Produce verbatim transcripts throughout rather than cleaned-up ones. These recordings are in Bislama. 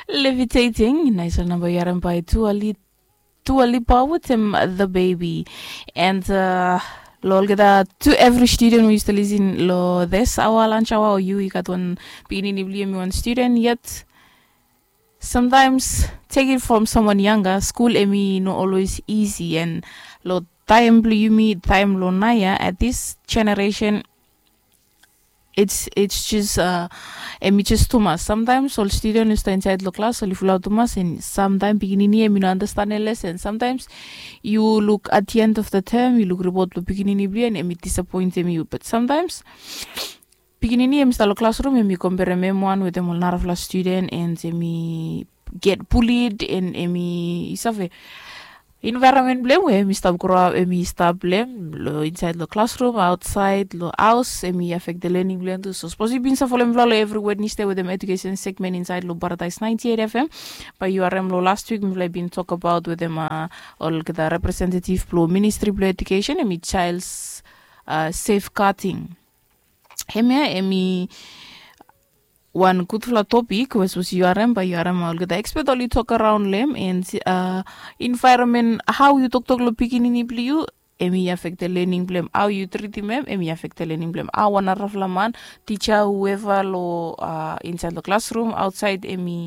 Levitating, naisol namba yu harim bai Dua Lipa wetem The Baby. And uh, lo olgeta, to every student we yu stap lisin lo this awa lunch awa, o yu i gat wan pikinini blong yu em i wan student yet, sometimes take it from someone younger. Skul em i no always easy, and lo taem blong yumi, taem lo naoia, at this generation, it's it's just uh, em i just tumas. Sometimes ol student i stap insaed lo klas, ol i fulaot tumas, and sometimes pikinini em i no understand lesen. Sometimes yu luk at the end of the term, yu luk ripot blong pikinini blong yu, and em i disappointim yu. But sometimes pikinini em i stap lo klasrum, em i komperem em wan wetem ol narafala student, and em i get bullied, and em i, yu save, environment blong em we em i stap grow up, em i stap lo em, lo insaed lo klasrum, aotsaed lo haos, em i afektem lening blong em tu. So sapos yu bin save folem mifala lo evri Wednesday wetem education segment insaed lo Paradise ninety eight F M, bae yu harem lo last week mifala i bin tokbaot wetem uh, olgeta representative blo ministri blo education, em i child uh, safeguarding. Hemia em i wan gudfala topik we sapos yu harem, bae yu harem olgeta ekspet oli tok araon lo em, and uh, environment, hao yu toktok lo pikinini blong yu, em i afektem lening blong em. Hao yu tritim em, em i afektem lening blong em. Hao wan narafala man, tija, whoever, lo uh, insaed lo klasrum, aotsaed, em i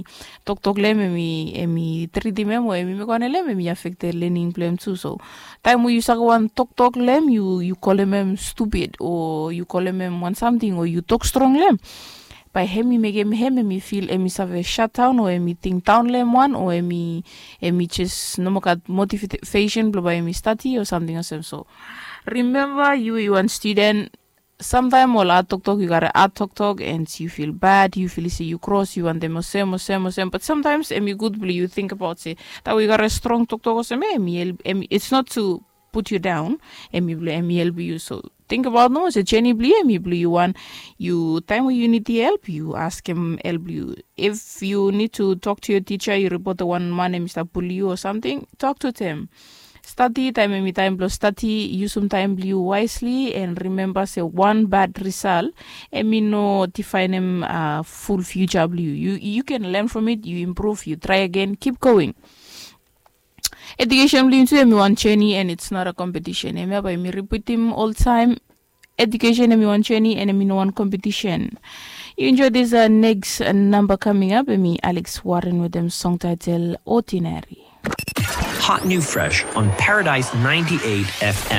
toktok lo em, em i, em i tritim em, o em i mekem wan lo em, em i afektem lening blong em tu. So taem we yu saga wan toktok lo em, yu, yu kolem em stupid, o yu kolem em wan samting, o yu tok strong lo em, bae hem i mekem hem, hem i fil, hem i save shutdown, o hem i tingdaon lo hem wan, o hem i, hem i jes no moa gat motivation blong bae hem i stadi o samting olsem. So rimemba, yu i wan studen, samtaem ol ad toktok, yu gat ad toktok, and yu fil bad, yu fil se yu kros, yu wantem olsem, olsem, olsem. Bat samtaem hem i gud blong yu tingbaot se taem we yu gat strong toktok olsem, hem i help, hem i, it's not to put you down, hem i blong hem i helpem yu. So tingbaot nomo se jeni blong yu hem i blong yu wan. Yu, taem we yu nidim help, yu askem help blong yu. If you need to talk to your teacher, yu ripotem wan man hem i stap buli yu o samting, talk to them. Stadi, taem hem i taem blong stadi, yusum taem blong yu wisely, and rimemba se wan bad result hem i no difaenem uh, ful future blong yu. You, you can learn from it, you improve, you try again, keep going. Education blong yu tu hem i wan journey and it's not a competition. Hemia bae mi ripitim oltaem, education hem i wan journey and hem i no wan competition. You enjoy this uh, next uh, number coming up, hem i Alex Warren wetem song title Ordinary. Hot new fresh on Paradise ninety-eight F M.